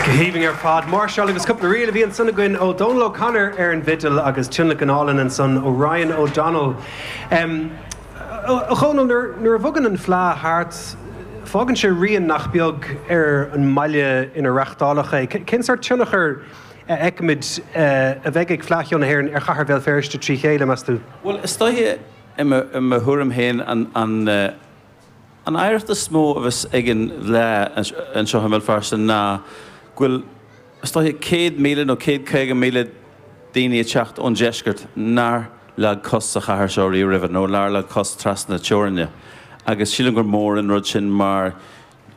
Go haoibhinn ar fad. Máirseáil agus cúpla ríl a bhí ansan againn ó Dónal O'Connor ar an bhfidil agus tionlacan álainn ansan ó Ryan O'Donnell. A Dhónaill, nuair a bhogann an Fleadh thart, fágann sé rian nach beag ar an mbaile ina reachtáladh é. Cén sórt tionchar a fheicimid a bheidh ag Fleadh Cheoil na hÉireann ar chathair Bhéal Feirste trí chéile, meas tú? Bhuel, is dóiche, i mo thuairim féin, an An oidhreacht is mó a bheas ag an bhFleadh anseo i mBéal Feirste ná go bhfuil, is dóiche, 100,000 nó 150,000 daoine ag teacht ón deisceart nár leag cos sa chathair seo riamh roimhe nó nár leag cos trasna teorainne agus sílim gur mór an rud sin mar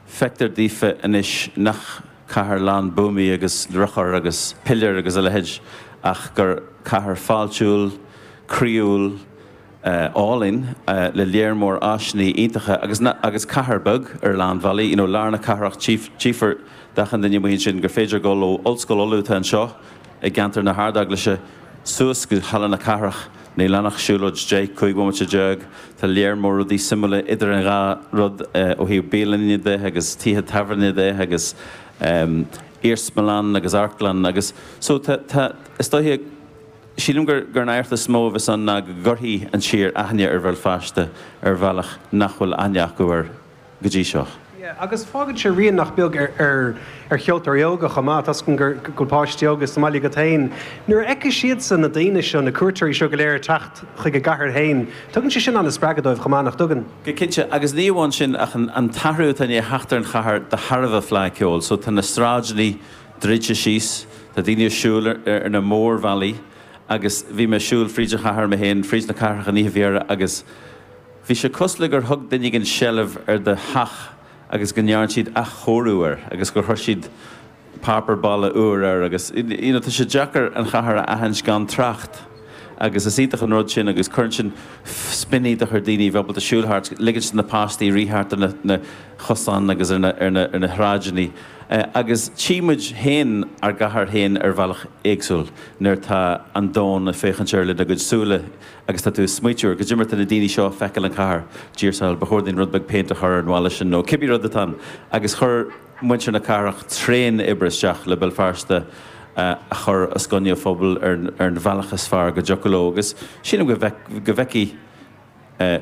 feictear daofa anois nach cathair lán buamaí agus urchar agus piléar agus a leithéid ach gur cathair fáiltiúil, croíúil, álainn le léar mór áiseanna iontacha agus agus cathair beag ar a lán bealaí. You know lár na cathrach tchífear d'achan duine amuigh ansin gur féidir dul ó Ollscoil Uladh atá anseo i gceantar na hArdeaglaise suas go Halla na Cathrach. Níl ann ach siúlóid 10, 15 bhomaite. Tá léar mór rudaí suimiúla idir an dhá rud ó thaobh bialainne de agus tithe tábhairne de agus iarsmalann agus amharclann agus so tá tá is dóiche Sílim gur an oidhreacht is mó a bheas ann ná go gcuirfidh an tír aithne ar Bhéal Feirste ar bhealach nach bhfuil aithne acu air go dtí seo. Yeah, agus fágann sé rian nach beag ar ar cheoltóirí óga chomh maith. Tá's agam go bhfuil páistí óga sa mbaile agat féin. Nuair a fheicfidh siadsan na daoine seo, na cuairteoirí seo go léir ag teacht chuig a gcathair féin, tugann sé sin an-spreagadh dóibh chomh maith, nach dtugann? Go cinnte, agus ní amháin sin ach an t-athrú atá i ndiaidh theacht ar an chathair de thairbhe Fleadh Cheoil. So tá na sráideanna druidte síos, tá daoine ag siúl ar na mórbhealaí agus bhí mé ag siúl fríd an chathair mé féin, fríd na cathrach an oíche faoi dheireadh agus bhí sé cosúil le gur thug duine éigin seilbh ar do theach agus go ndearn siad athchóiriú air agus gur chuir siad páipéar balla úr air agus you know tá sé deacair an chathair a aithint gan trácht. Agus is iontach an rud sin agus cuireann sin spion iontach ar daoine a bheith ábalta siúl thart, ligint do na páistí rith thart ar na chosáin agus ar na sráideanna. Agus tchí muid féin ár gcathair féin ar bhealach éagsúil nuair atá an domhan ag féachaint air lena gcuid súile agus tá tú ag smaoitiú ar goidé mar atá na daoine seo ag feiceáil an chathair, Dear soul, ba chóir dúinn rud beag péint a chur ar an bhalla sin nó cibé rud atá ann. Agus chuir muintir na cathrach tréan oibre isteach le Béal Feirste a chur os coinne an phobail ar an bhealach is fearr go dtiocfadh leo agus sílim go bhfeicfidh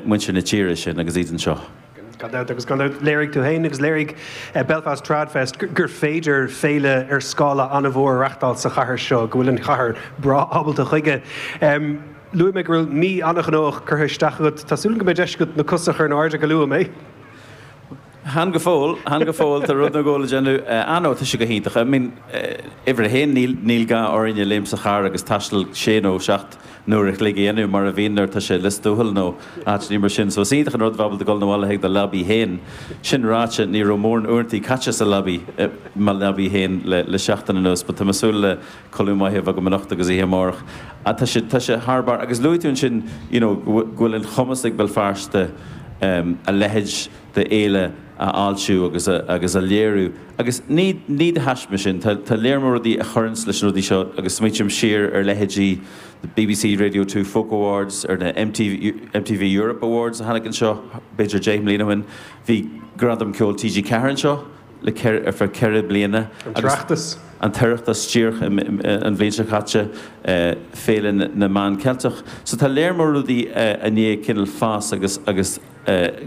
muintir na tíre sin agus iad anseo. Gan dabht, agus gan dabht léirigh tú féin agus léirigh Belfast Tradfest gur féidir féile ar scála an-mhór a reachtáil sa chathair seo, go bhfuil an chathair breá ábalta chuige. Luaigh mé go bhfuil mí an-ghnóthach curtha isteach agat. Tá súil agam go mbeidh deis agat na cosa a chur in airde go luath, an mbeidh? Chan go fóill, chan go fóill, tá rud nó dhó le déanamh. Ah no, tá sé go hiontach. I mean, uimhir a haon, níl, níl gá orainne léim sa charr agus taisteal sé nó seacht n-uair a chloig a dhéanamh mar a bhíonn nuair atá sé i Lios Tuathail nó áiteanna mar sin. So is iontach an rud bheith ábalta dul 'na bhaile chuig do leabaidh féin. Sin ráite, ní raibh mórán uaireantaí caite sa leabaidh, i mo leabaidh féin le, le seachtain anuas, but tá mé ag súil le codladh maith a bheith agam anocht agus oíche amárach. Ah tá sé, tá sé thar barr. Agus luaigh tú ansin, you know, go bhfuil, go bhfuil an chumas ag Béal Feirste, a leithéid de fhéile a fháiltiú agus a agus a léiriú. Agus ní ní de thaisme sin, tá tá léar mór rudaí a chuireanns leis na rudaí seo agus smaoitím siar ar leithéidí the BBC Radio 2 Folk Awards, ar na MTV MTV Europe Awards a tháinig anseo b'fhéidir 10 mbliana ó shin. Bhí Gradam Ceoil TG4 anseo le ar feadh 4 bliana. An tOireachtas. An tOireachtas díreach an bhliain seo caite, Féile na Meán Ceilteach. So tá léar mór rudaí i ndiaidh cineál fás agus agus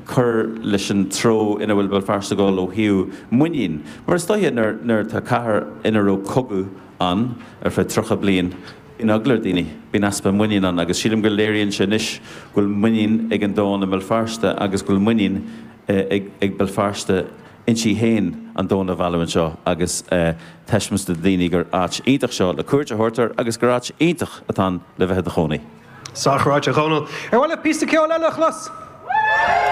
cur leis an treo ina bhfuil Béal Feirste ag dul ó thaobh muinín. Mar is dóiche nuair nuair atá cathair ina raibh cogadh ann ar feadh 30 bliain, bíonn eagla ar daoine, bíonn easpa muinín ann agus sílim go léiríonn sé anois go bhfuil muinín ag an domhan i mBéal Feirste agus go bhfuil muinín ag ag Béal Feirste inti féin an domhan a mhealladh anseo agus taispeáint do dhaoine gur áit iontach seo le cuairt a thabhairt air agus gur áit iontach atá ann le bheith i do chónaí. Sách ráite, a Dhónaill. Ar mhaith leat píosa ceoil eile a chlos?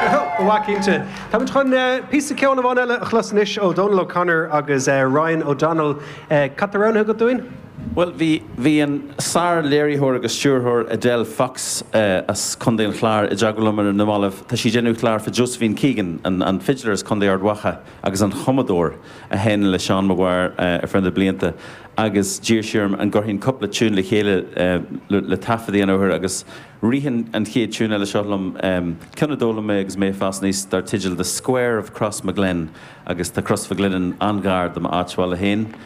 Ba mhaith cinnte. Táimid chun píosa ceoil amháin eile a chlos anois ó Dónal O'Connor agus Ryan O'Donnell. Cad tá roghnaithe agat dúinn? Bhuel, bhí, bhí an sár-léiritheoir agus stiúrthóir Edel Fox as Contae an Chláir i dteagmháil liom ar na mallaibh. Tá sí ag déanamh clár fá Josephine Keegan, an, an fidléir as Contae Ard Mhacha agus an chumadóir a sheinn le Seán Maguire ar feadh na blianta agus d'iarr sí orm an gcuirfinn cúpla tiún le chéile le, le taifead a dhéanamh air agus rith an, an chéad tiún eile seo liom, ceann a d'fhoghlaim mé agus mé ag fás aníos dar teideal The Square of Crossmaglen agus tá Crossmaglen an-ghar do m'áit bhaile féin.